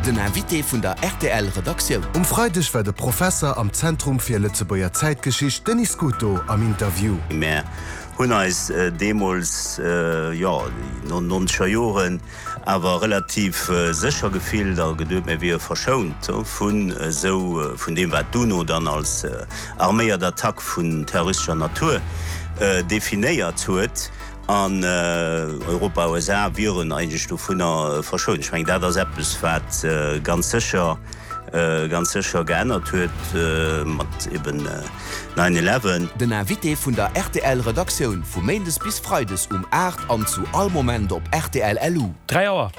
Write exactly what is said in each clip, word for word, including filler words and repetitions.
Den Invité vun der R T L Redaktioun. Um Freideg war de Professer am Zentrum fir Lëtzebuerger Zäitgeschicht Denis Scuto am Interview. Mir hunn eis äh, deemools äh, ja, nonzeger Joren awer relativ äh, sécher gefillt a geduecht, mir wiere verschount vun äh, sou äh, vun deem wat d'UNO dann als äh, arméiert Attack vun terroristescher Natur äh, definéiert huet an äh, Europa U S A wieren eigentlech dovunner äh, verschount. Ech mengen dat ass eppes wat äh, ganz sécher äh, ganz sécher geännert huet äh, mat eben äh, nine eleven. Den Invité vun der R T L Redaktioun vu Méindes bis Freides um aacht an zu all Moment op R T L L U. dräi Auer.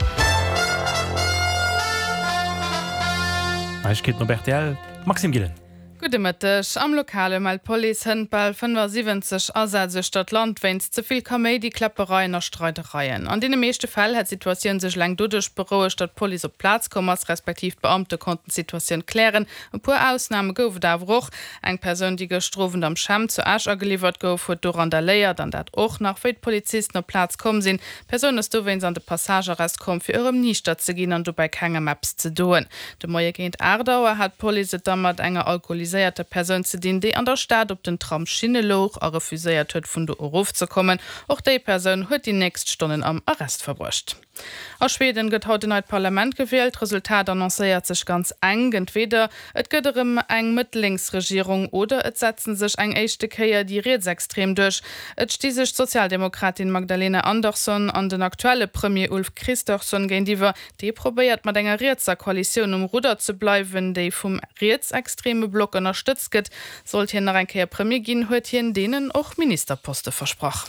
Neiegkeeten op R T L. Maxime Gillen. Gudde Mëtteg. Am Lokale mellt d'Police hënt bal fënnefasiwwenzeg Asätz uechter d'Land wéinst ze vill Kaméidi, Kläppereien a Streidereien. An deene meeschte Fäll hätt d'Situatioun sech eleng doduerch berouegt, datt d'Police op d'Plaz komm ass, respektiv d'Beamte konnten d'Situatioun klären. E puer Ausname gouf et awer och. Eng Persoun, déi gëschter Owend am Schämm zu Esch ageliwwert gouf, huet do randaléiert an dat och nach wéi d'Polizisten op d'Plaz komm sinn. D'Persoun ass dowéinst an de Passagearrest komm, fir erëm niichter ze ginn an dobäi kengem eppes ze doen. De Moie géint aacht Auer hat d'Police et da mat enger alkoholiséierter Persoun ze dinn, déi an der Stad op den Tramsschinne louch a refuséiert huet, vun do erofzekommen. Och déi Persoun huet déi nächst Stonnen am Arrest verbruecht. A Schweden gëtt haut en neit Parlament gewielt. D'Resultat annoncéiert sech ganz enk. Entweder et gëtt erëm eng Mëtt-Lénks-Regierung oder et setzen sech eng éischte Kéier déi Rietsextrem duerch. Et sti sech d'Sozialdemokratin Magdalena Andersson an den aktuelle Premier Ulf Kristersson géintiwwer. Dee probéiert mat enger rietser Koalitioun um Rudder ze bleiwen, déi vum rietsextreme Block ënnerstëtzt gëtt. Sollt hien nach eng Kéier Premier ginn, huet hien deenen och Ministerposte versprach.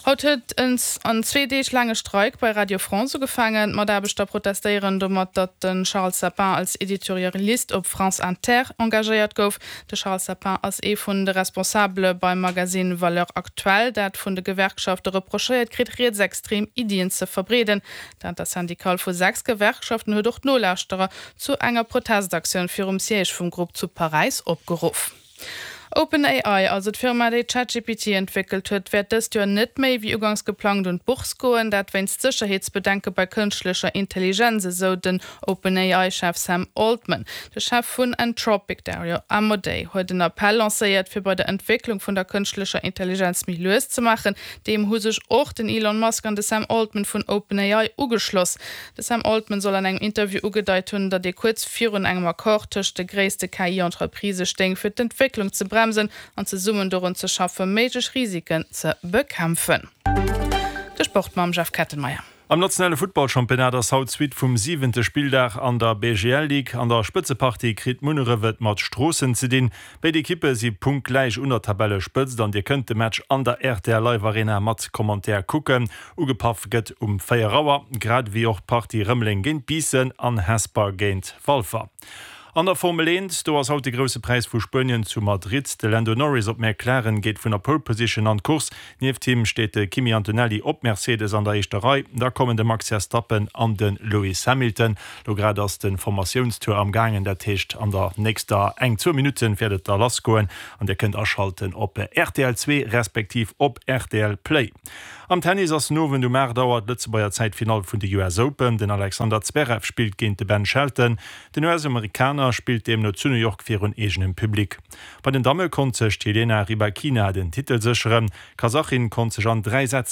Haut huet en en zwee Deeg laange Streik bei Radio France ugefaangen. D'Mataarbechter protestéieren domat, datt de Charles Sapin als Editorialist op France Inter engagéiert gouf. De Charles Sapin ass ee vun de Responsabele beim Magasinn Valeurs Actuelles, dat vun de Gewerkschafte reprochéiert kritt, rietsextrem Iddien ze verbreeden. D'Intersyndicale vu sechs Gewerkschaften huet och d'Nolauschterer zu enger Protestaktioun virum Siège vum Grupp zu Paräis opgeruff. OpenAI, also d'Firma, déi ChatGPT entwéckelt huet, wäert dëst Joer net méi wéi uganks geplangt un d'Bourse goen, dat wéinst Sécherheetsbedenke bei kënschtlecher Intelligenz, esou den OpenAI-Chef Sam Altman. De Chef vun Anthropic, Dario Amodei, huet en Appell lancéiert, fir bei der Entwécklung vun der kënschtlecher Intelligenz méi lues ze maachen. Deem hu sech och den Elon Musk an de Sam Altman vun OpenAI ugeschloss. De Sam Altman soll an engem Interview ugedeit hunn, datt ee kuerz virun engem Accord tëscht de gréisste K I-Entreprisë stéing, fir d'Entwécklung ze bremsen an zesummen dorun ze schaffen, méiglech Risiken ze bekämpfen. De Sport mam Jeff Kettenmeyer. Am nationale Futtballchampionnat ass haut d'Suite vum siwente Spilldag an der B G L Ligue. An der Spëtzepartie kritt Munneref et mat Stroossen ze dinn. Béid Ekippe si punktgläich un der Tabellespëtzt an dir kënnt de Match an der R T L Live Arena mat Commentaire kucken. Ugepaff gëtt um véier Auer, grad ewéi och d'Partie Rëmeleng géint Biissen an Hesper géint Walfer. An der Formel eent, do ass haut de Grousse Präis vu Spuenien zu Madrid. De Lando Norris op McLaren geet vun der Pole Position an d'Course. Nieft him steet de Kimi Antonelli op Mercedes an der éischter Rei. Da kommen de Max Verstappen an de Lewis Hamilton. Lo grad ass de Formatiounstour am gaangen, dat heescht an der nächster eng zwou Minutten wäert et da lassgoen an dir kënnt aschalten op R T L zwee respektiv op R T L Play. Am Tennis ass den Owend um aacht Auer d'Lëtzebuerger Zäit d'Finall vun de U S Open. Den Alexander Zverev spillt géint de Ben Shelton. Den U S-Amerikaner spillt deemno zu New York virun eegenem Public. Bei den Damme konnt sech d'Jelena Rybakina den Titel sécheren. D'Kasachin konnt sech an dräi Sätz